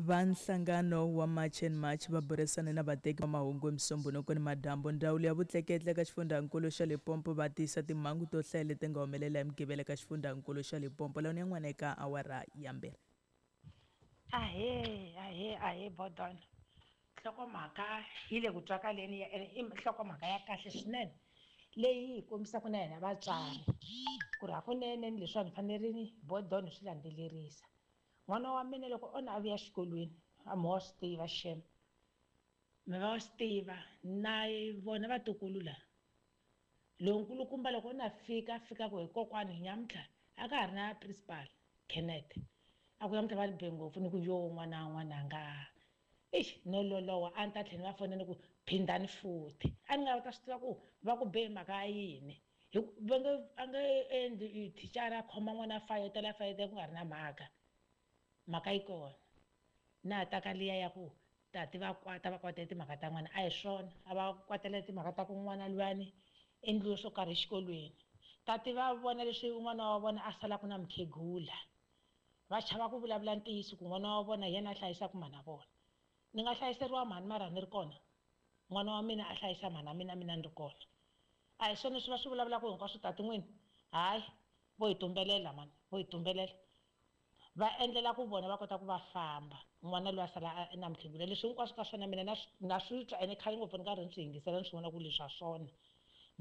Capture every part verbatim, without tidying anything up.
Va nhlangano wa March and March va burisane na vateki va mahungu hi Musumbhunuku ni madyambu. Ndzawulo ya vutleketli eka xifundzankulu xa Limpopo va tiyisa timhangu to hlaya leti nga humelela hi Mugqivela eka xifundzankulu xa Limpopo. Lawa ni yan'wana eka awara ya mbirhi. Ahee, ahee, ahee Bodon. Nhlokomhaka yi le ku twakaleni ya i nhlokomhaka ya kahle swinene leyi hi kombisaka na hina vatswari ku ri hakunene ni leswiwani hi fanerile Bodon hi swi landzelerisa. N'wana wa mina loko o na a vuya exikolweni a mi wa swi tiva xem mi va swi tiva na vona vatukulu la lonkulukumba loko o na fika a fika ku hi kokwani nyamuntlha a ka ha ri na principal Kenneth a ku namuntlha va ni be ngopfu ni ku yo n'wana n'wananga ixi no loloha a ni ta tlhela ni va fonela ni ku phindani futhi a ni nga ta swi tiva ku va ku be mhaka ya yini hi ku va nge a nge endli thicara a khoma n'wana a fayetela fayetela ku nga ri na mhaka mhaka yi kona na ha ta ka liya ya ku tati va kwata va kwatela timhaka ta n'wana a hi swona a va kwatela timhaka ta ku n'wana luyani endliwe swo karhi exikolweni tati va vona leswi un'wana wa vona a salaka na mukhegula va chava ku vulavula ntiyiso ku n'wana wa vona hi yena a hlayisaka mhana vona ni nga hlayiseriwa mhani mara ni ri kona n'wana wa mina a hlayisa mhana mina mina ni ri kona a hi swona leswi va swi vulavulaka hinkwaswo tati n'wini hayi vo hi tumbelela mani vo hi tumbelela va endlela ku vona va kota ku va famba n'wana loyi a sala na mukhegula leswi hinkwaswo ka swona mina na na swi twa ene khale ngopfu ni karhi ni swi yingisela ni swi vona ku leswi ha swona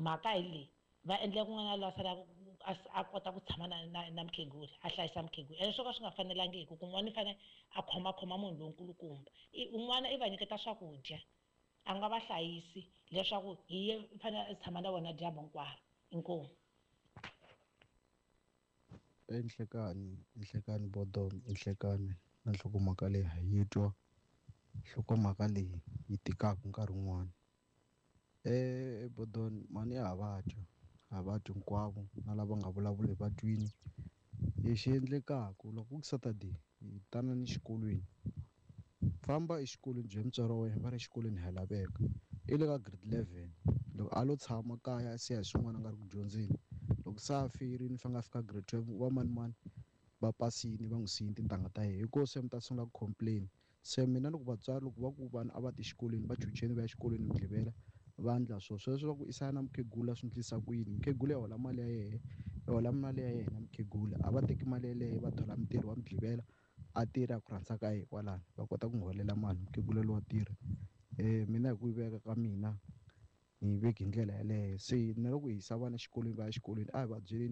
mhaka hi leyi va endlela ku n'wana loyi a sala a kota ku tshama na na na mukhegula a hlayisa mukhegula ene swo ka swi nga fanelangiki ku n'wana i fanele a khomakhoma munhu lonkulukumba un'wana i va nyiketa swakudya a nga va hlayisi leswaku hi ye fanele a tshama na vona dyambu hinkwaro inkomu. Enhlekani enhlekani Bodon enhlekani na nhlokomhaka leyi ha yi twa nhlokomhaka leyi yi tikaka nkarhi wun'wani eh Bodon mani ya ha va twa ha va twi hinkwavo na lava nga vulavuli va twini lexi endlekaka loko ku Saturday hi tanani exikolweni famba exikolweni bya mutswari wa wena va ri exikolweni ha laveka i le ka grade eleven loko a lo tshama kaya a siya hi swin'wana a nga ri ku dyondzeni loko se a feyirini fanele a fika grade twelve va manimani va pasini va n'wi siyini tintangha ta yena hi koho se mi ta sungula ku complain se mina loko vatswari loko va ku vanhu a va ti exikolweni va chucheni va ya exikolweni Mugqivela va endla swo sweswo va ku i na mukhegula swi endlisa ku yini mukhegula ya hola mali ya yena ya hola mali ya yena mukhegula a va teki mali yeleyo va thola mutirhi wa Mugqivela a tirha ku rhandza ka yena kwalano va kota ku n'wi holela mali mukhegula lowa tirha um mina hi ku yi veka ka mina ni yi veki hi ndlela yeleyo se na loko hi yisa vana exikolweni va ya exikolweni a hi va byeleni